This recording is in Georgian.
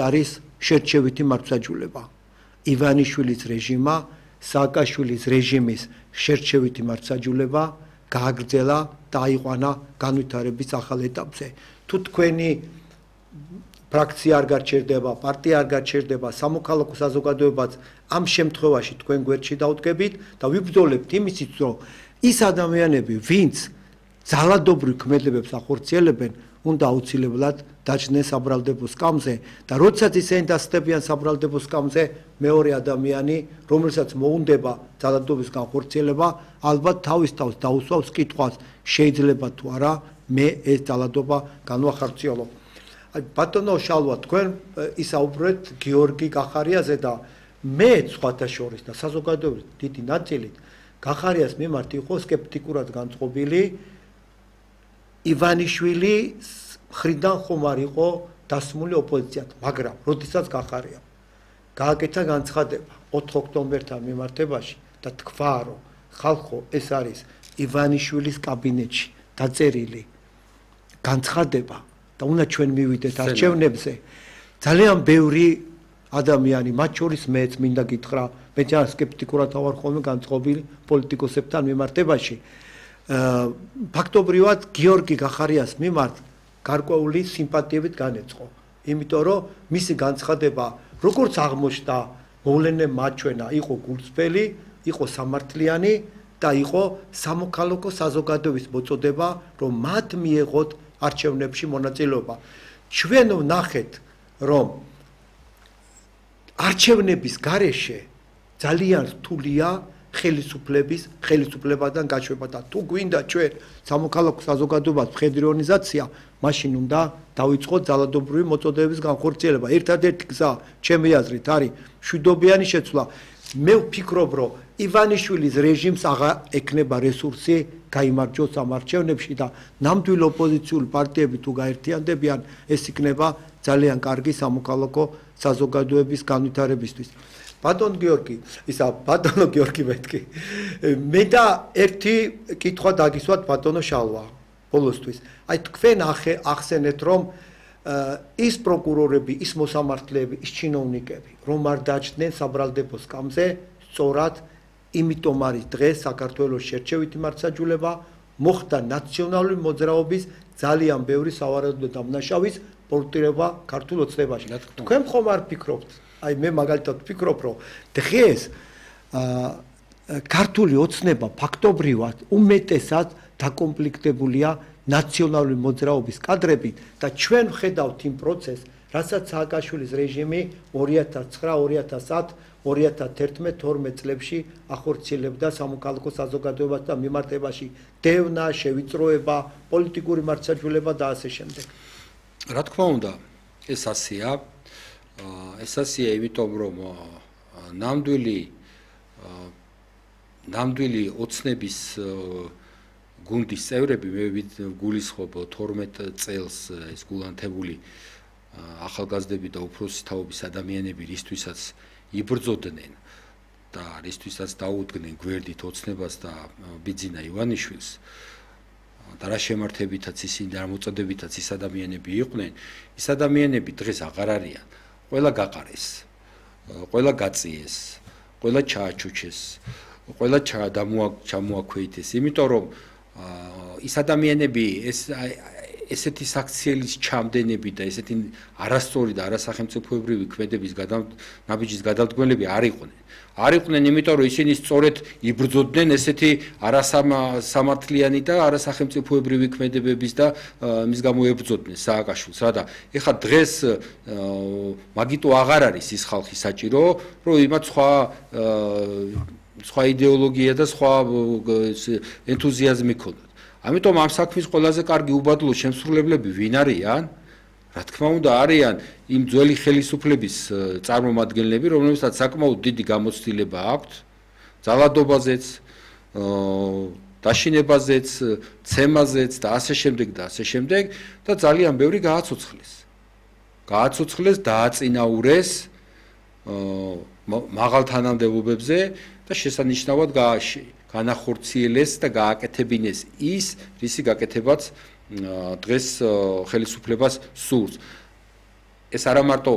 არის შერჩევითი მართლმსაჯულება. ივანიშვილის რეჟიმმა, სააკაშვილის რეჟიმის შერჩევითი მართლმსაჯულება გააგრძელა და აიყვანა განვითარების ახალ ეტაპზე. თუ თქვენი ფრაქცია არ გარჩერდება, პარტია არ გარჩერდება, სამოქალაქო საზოგადოებაც ამ შემთხვევაში თქვენ გვერდში დაუდგებით და ვიბრძოლებთ იმისით, რომ ის ადამიანები, ვინც ძალადობრივ ქმედებებს ახორციელებენ, უნდა აუცილებლად დაჯდნენ საბრალდებო სკამზე და როდესაც ისინი დასწრებიან საბრალდებო სკამზე, მეორე ადამიანი, რომელსაც მოუნდება ძალადობის განხორციელება, ალბათ თავის თავს დაუსვავს კითხვას, შეიძლება თუ არა მე ეს ძალადობა განვახორციელო. ბატონო შალვა, თქვენ ისაუბრეთ გიორგი გახარიაზე და მე სხვათა შორის და საზოგადოების დიდი ნაწილით გახარიას მიმართ იყო სკეპტიკურად განწყობილი. ივანიშვილი მხრიდან ხომ არ იყო დასმული ოპოზიციად, მაგრამ როდესაც გახარია გააკეთა განცხადება 4 ოქტომბერთან მიმართებაში და თქვა, რომ ხალხო, ეს არის ივანიშვილის კაბინეტში დაწერილი განცხადება და უნდა ჩვენ მივიდეთ არჩევნებზე. ძალიან ბევრი ადამიანი, მათ შორის მეც მინდა გითხრა, მე ძალიან სკეპტიკურად ვარ ხოლმე განწყობილი პოლიტიკოსებთან მიმართებაში. ფაქტობრივად გიორგი გახარიას მიმართ გარკვეული სიმპათიებით განეწყო. იმიტომ რომ მისი განცხადება, როგორც აღმოჩნდა, მოვლენე მაჩვენა, იყო გულწრფელი, იყო სამართლიანი და იყო სამოქალაქო საზოგადოების მოწოდება, რომ მათ მიეღოთ არჩევნებში მონაწილეობა. ჩვენ ვნახეთ, რომ არჩევნების გარეშე ძალიან რთულია ხელისუფლებიდან გაშვება და თუ გვინდა ჩვენ სამოქალაქო საზოგადოებას მხედრი ორგანიზაცია, მაშინ უნდა დავიწყოთ ძალადობრივი მოწოდებების განხორციელება. ერთადერთი გზა, ჩემი აზრით, არის მშვიდობიანი შეცვლა. მე ვფიქრობ, რომ ივანიშვილის რეჟიმს აღარ ექნება რესურსი გაიმარჯვოს ამ არჩევნებში და ნამდვილ ოპოზიციური პარტიები თუ გაერთიანდებიან, ეს იქნება ძალიან კარგი სამოქალაქო საზოგადოების განვითარებისთვის. ბატონო გიორგი მეთქი. მე და ერთი კითხვა დაგისვათ ბატონო შალვა ბოლოსთვის. აი თქვენ ახსენეთ, რომ ის პროკურორები, ის მოსამართლეები, ის ჩინოვნიკები, რომ არ დაჯდნენ საბრალდებო სკამზე, სწორად იმიტომ არის დღეს საქართველოს შერჩევითი მართლმსაჯულება, მოხდა ნაციონალური მოძრაობის ძალიან ბევრი სავარაუდო დამნაშავის პორტრეტირება ქართულ ოცნებაში. თქვენ ხომ არ ფიქრობთ? აი მე მაგალითად ვფიქრობ, რომ დღეს ქართული ოცნება ფაქტობრივად უმეტესად დაკომპლექტებულია ნაციონალური მოძრაობის კადრებით და ჩვენ ვხედავთ იმ პროცესს, რასაც სააკაშვილის რეჟიმი 2009, 2010, 2011, 12 წლებში ახორციელებდა სამოქალაქო საზოგადოებას და მიმართებაში დევნა, შევიწროება, პოლიტიკური მართლმსაჯულება და ასე შემდეგ. რა თქმა უნდა, ეს ასეა. ეს ასეა, იმიტომ რომ ნამდვილი ოცნების გუნდის წევრები, მე გულისხმობ 12 წელს ეს გულანთებული ახალგაზრდები და უფროსი თაობის ადამიანები, რისთვისაც იბრძოდნენ და რისთვისაც დაუდგნენ გვერდით ოცნებას და ბიძინა ივანიშვილს და რა შემართებითაც ისინი და რა მოწოდებითაც ის ადამიანები იყვნენ, ის ადამიანები დღეს აღარ არიან. ყველა გაყარეს, ყველა გაწიეს, ყველა ჩააჩუჩეს, ყველა ჩამოაქვეითეს, იმიტომ რომ ის ადამიანები ესეთი საქციელის ჩამდენები და ესეთი არასწორი და არასახელმწიფოებრივი ქმედების ნაბიჯის გადამდგმელები არ იყვნენ. არ იყვნენ, იმიტომ რომ ისინი სწორედ იბრძოდნენ ესეთი არასამართლიანი და არასახელმწიფოებრივი ქმედებების და მის გამო ებრძოდნენ სააკაშვილს. რა და ეხლა დღეს მაგიტო აღარ არის ის ხალხი საჭირო, რომ იმათ სხვა იდეოლოგია და სხვა ენთუზიაზმი ქონდათ. ამიტომ ამ საქმის ყველაზე კარგი უბადლო შემსრულებლები ვინ არიან? რა თქმა უნდა, არიან იმ ძველი ხელისუფლების წარმომადგენლები, რომლებსაც საკმაოდ დიდი გამოცდილება აქვთ ძალადობაზეც, დაშინებაზეც, ცემაზეც და ასე შემდეგ და ასე შემდეგ და ძალიან ბევრი გააცოცხლეს. დააწინაურეს მაღალ თანამდებობებზე და შესანიშნავად განახორციელეს და გააკეთებინეს ის, რისი გაკეთებაც დღეს ხელისუფლებას სურს. ეს არა მარტო